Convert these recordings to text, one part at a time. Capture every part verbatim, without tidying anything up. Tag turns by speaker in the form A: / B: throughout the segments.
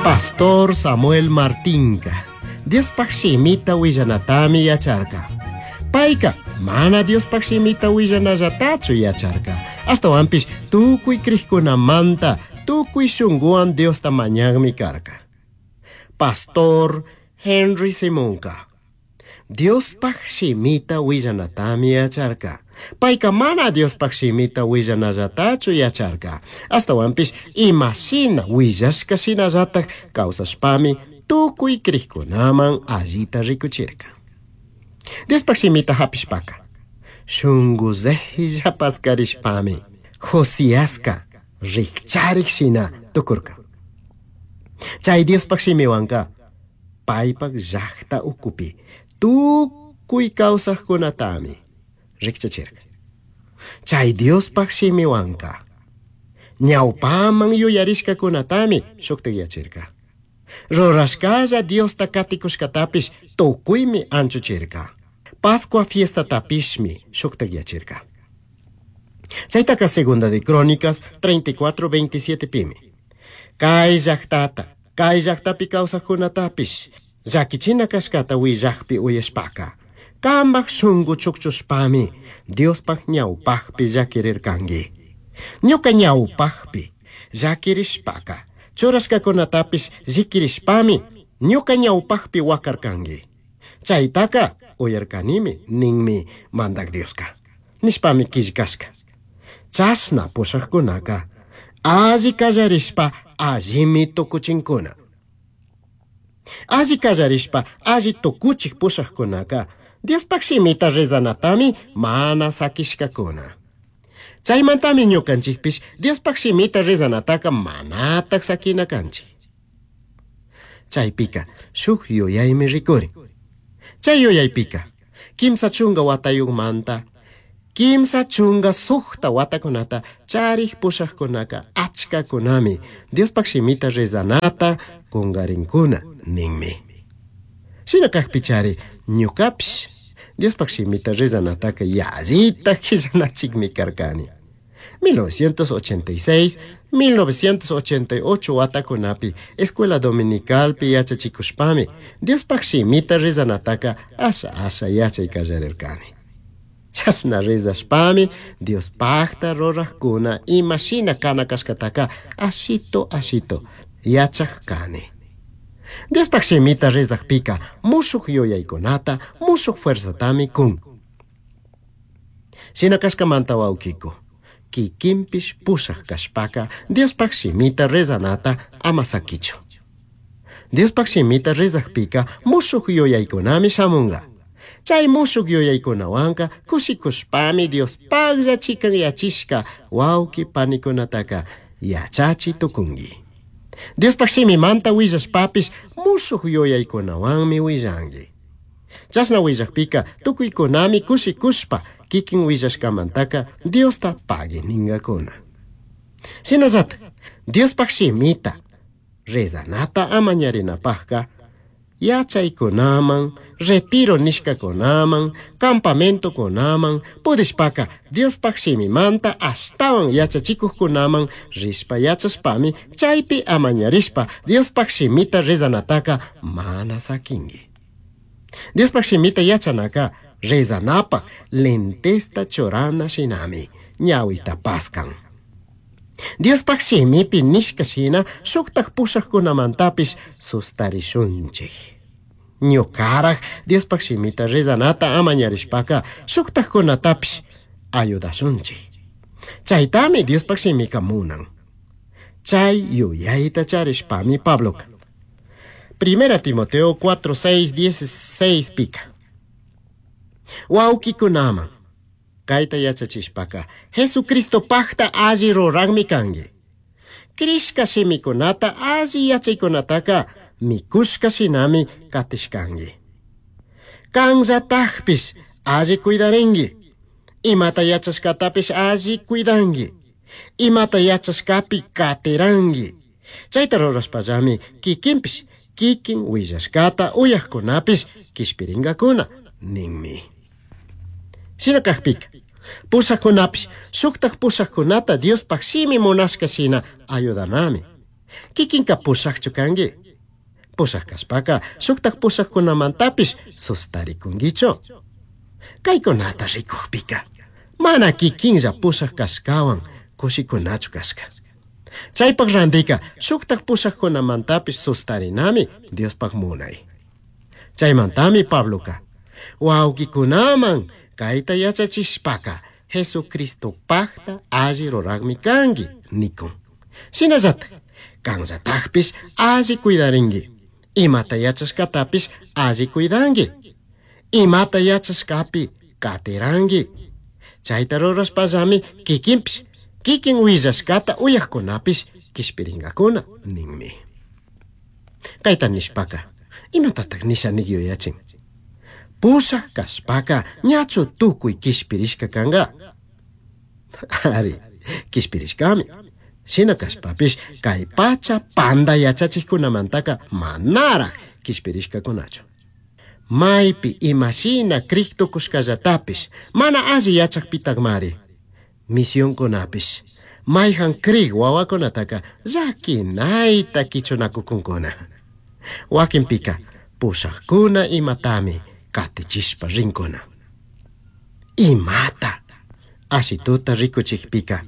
A: Pastor Samuel Martinka Diospaj shimita willanatami yacharka. Payka mana Diospaj shimita willanallatachu yacharka. Ashtawanpish tukuy krikkunamanta tukuy shunkuwan Diosta mañakmi karka. Pastor Henry Simonka Diospaj shimita willanatami yacharka. Payka mana Diospaj shimita willanallatachu yacharka. Ashtawanpish imashina willashka shinallataj kawsashpami tukuy krikkunaman allita rikuchirka. Diospaj shimita hapishpaka shunku paskarishpami Josiaska rikcharik shina tukurka. Chay Diospaj shimiwanka paypak llaqta ukupi tukuy kawsaqkunatami rikchachirka. Chay Diospaj shimiwanka ñawpaman yuyarishkakunatami shuktikyachirka. Rurashkalla Diosta katikushkatapish tukuymi anchuchirka. Pascua fiestatapishmi shuktikyachirka. Chaytaka Segunda de Crónicas treinta y cuatro veintisiete pimi. Kay llaqtata, kay llaqtapi kawsaqkunatapish llakichina kashkata willaqpi uyashpaka kambaj shunku chukchushpami Diospaj ñawpajpi llakirirkanki. Ñuka ñawpajpi llakirishpaka churashkakunatapish llikirishpami ñuka ñawpajpi wakarkanki. Chaytaka uyarkanimi ninmi mandak Dioska. Nishpami killkashka. Chashna pushaqkunaka alli kallarishpa allimi tukuchinkuna. Alli kallarishpa alli tukuchik pushaqkunaka Diospaj shimita rezanatami mana sakishkakuna. Chaymantami ñukanchikpish Diospaj shimita rezanataka manatak sakina kanchik. Chaypika shuk yuyaymi rikurin. Chay yuyaypika kimsa chunka watayuqmanta kimsa chunka suqta watakunata charik pushaqkunaka achkakunami Diospaj shimita rezanata kunkarinkuna ninmi. Shina kaqpichari ñukapish Diospaj shimita rezanataka yallita qillanachikmi karkani. mil novecientos ochenta y seis, mil novecientos ochenta y ocho watakunapi escuela dominicalpi yachachikushpami Diospaj shimita rezanataka asha asha yachay kallarirkani. Chashna rezashpami Diospajta rurajkuna imashina kana kashkataka ashito ashito yachaj kani. Diospaj shimita rezajpika mushuk yuyaykunata mushuk fuerzatami kun. Shina kashkamanta wawkiku kikinpish pushaj kashpaka Diospaj shimita rezanata ama sakichu. Diospaj shimita rezajpika mushuk yuyaykunami shamunga. Chay mushuk yuyaykunawanka kushikushpami Diospajlla chikanyachishka wawki panikunataka yachachi tukunki. Diospaj shimimanta willashpapish mushuk yuyaykunawanmi willanki. Chashna willajpika tukuykunami kushikushpa kikin willashkamantaka Diosta pagui ningakuna. Shinallatak Diospaj shimita rezanata amañarinapajka yachaykunaman, retiro nishkakunaman, campamentokunaman, pudishpaka Diospaj shimimanta ashtawan yachachikuqkunaman rishpa yachashpami chaypi amañarishpa Diospaj shimita rezanataka mana sakinki. Diospaj shimita yachanaka rezanapaj lentesta churana shinami ñawita paskan. Diospaj shimipi nishka shina shuktaj pushaqkunamantapis sustarishunchik. Ñukaraj Diospaj shimita rezanata amañarishpaka shuktajkunatapish ayudashunchik. Chaytami Diospaj shimika munan. Chay yuyayta charishpami Pabloka. Primera Timoteo cuatro, seis, dieciséis pica. Wawkikunaman kayta yachachishpaka Jesucristo pajta alli ruraqmi kanki. Krishka shimikunata alli yachaykunataka mikushka shinami katishkanki. Kanllatajpish alli cuidarinki. Imata yachashkatapish alli cuidanki. Imata yachashkapi katiranki. Chayta rurashpallami kikinpish kikin willashkata uyaqkunapish kishpiringakuna ninmi. Shina kaqpika pushaqkunapish shuktaj pushaqkunata Diospaj shimi munashka shina ayudanami. Kikinka pushaqchu kanki? Pushaq kashpaka shuktak pushaqkunamantapish sustarikunkichu? Kaykunata rikukpika mana kikinlla pushaq kashkawan kushikunachu kashka. Chaypaq rantika shuktak pushaqkunamantapish sustarinami Diospaq munay. Chaymantami Pabloka wawqikunaman kayta yachachishpaka Jesucristopaqta alli ruraqmi kanki nikun. Shinallatak kanllatakpish alli cuidarinki. Imata yachashkatapish alli cuidanki. Imata yachashkapi katiranki. Chayta rurashpallami kikinpish kikin willashkata uyaqkunapish kishpirinkakuna ninmi. Kayta nishpaka imatataq nisha nik yuyachin? Pushaq kashpaka ñachu tukuy kishpirishka kanka? Ari, kishpirishkami. Shina kashpapish kay pacha panda yachachikkunamantaka manaraq kishpirishkakunachu. Maypi imashina krik tukushkallatapish mana alli yachakpitakmari. Misionkunapish mayhan krik wawakunataka llakinayta kichunakukunkuna. Wakinpika pushaqkuna imatami katichishpa rinkuna. Imata ashituta rikuchikpika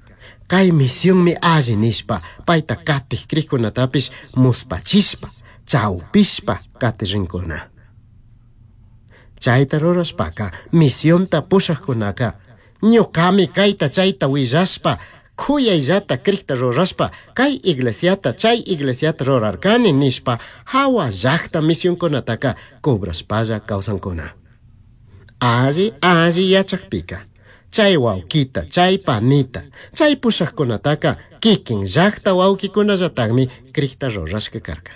A: kay misionmi alli nishpa payta katik krikkunatapish muspachishpa chawpishpa katirinkuna. Chayta rurashpaka misionta pushaqkunaka ñuqami kayta chayta willashpa khuyayllata krikta rurashpa kay iglesiata chay iglesiata rurarkani nishpa hawa llaqta misionkunataka cobrashpalla kawsankuna. Alli alli yachakpika chay wawkita chay panita chay pushaqkunataka kikin llaqta wawkikunallataqmi krikta rurashka karka.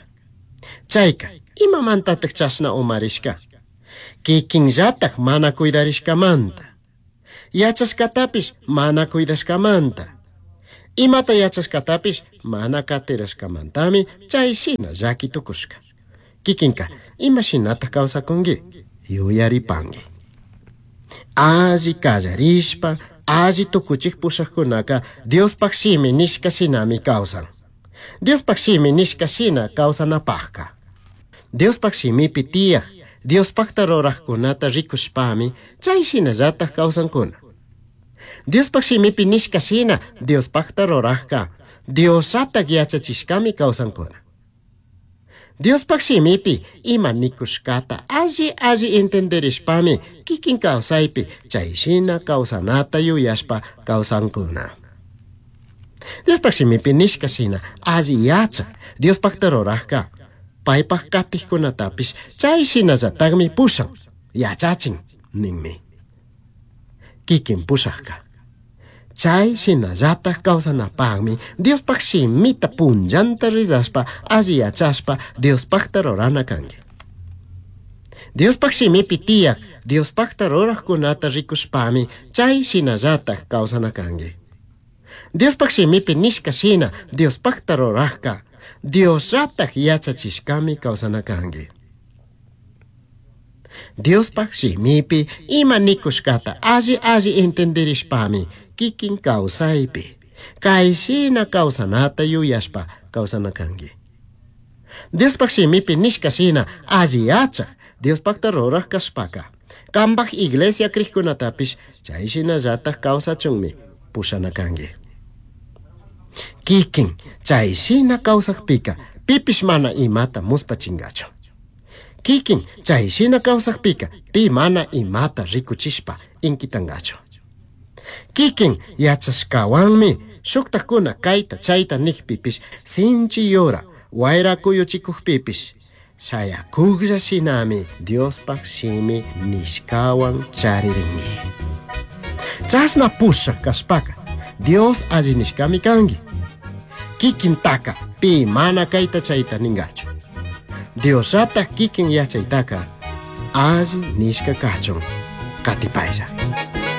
A: Chayka imamantataq chashna umarishka? Kikinllataq mana cuidarishkamanta. Yachashkatapish mana cuidashkamanta. Imata yachashkatapish mana katirashkamantami chay shina llaki tukushka. Kikinka imashinataq kawsakunki? Yuyaripanki. Alli kallarishpa alli tukuchik pushaqkunaka Diospaq shimi nishka shinami kawsan. Diospaq shimi nishka shina kawsanapaqka. Diospaq shimipi tiyaq Diospaqta ruraqkunata rikushpami chay shinallataq kawsankuna. Diospaq shimipi nishka shina Diospaqta ruraqka Diosataq yachachishkami kawsankuna. Diospaq shimipi ima nikushkata alli alli entenderishpami kikin kawsaypi chay shina kawsanata yuyashpa kawsankuna. Diospaq shimipi nishka shina alli yachaq Diospaqta ruraqka paypaq katikkunatapish chay shinallataqmi pushan yachachin ninmi. Kikin pushaqka chay shinallataq kawsanapaqmi Diospaq shimita punllanta rizashpa alli yachashpa Diospaqta rurana kanki. Diospaq shimipi tiyaq Diospaqta ruraqkunata rikushpami chay shinallataq kawsana kanki. Diospaq shimipi nishka shina Diospaqta ruraqka Diosataq yachachishkami kawsana kanki. Diospaq shimipi ima nikushkata alli alli entenderishpami kikin kawsaypi kay shina kawsanata yuyashpa kawsana kanki. Diospaq shimipi nishka shina alli yachaq Diospaqta ruraq kashpaka kanpaq iglesia krikkunatapish chay shinallataq kawsachunmi pushana kanki. Kikin chay shina kawsaqpika pipish mana imata muspachinkachu. Kikin chay shina kawsaqpika pi mana imata rikuchishpa inkitankachu. Kikin yachashkawanmi shuktakuna kayta chayta nikpipish sinchi yura wayra kuyuchikukpipish shayakuklla shinami Diospaq shimi nishkawan charirinki. Chashna pushaq kashpaka Dios alli nishkami kanki. Kikintaka pi mana kayta chayta ninkachu. Diosataq kikin yachaytaka alli nishka kachun katipaylla.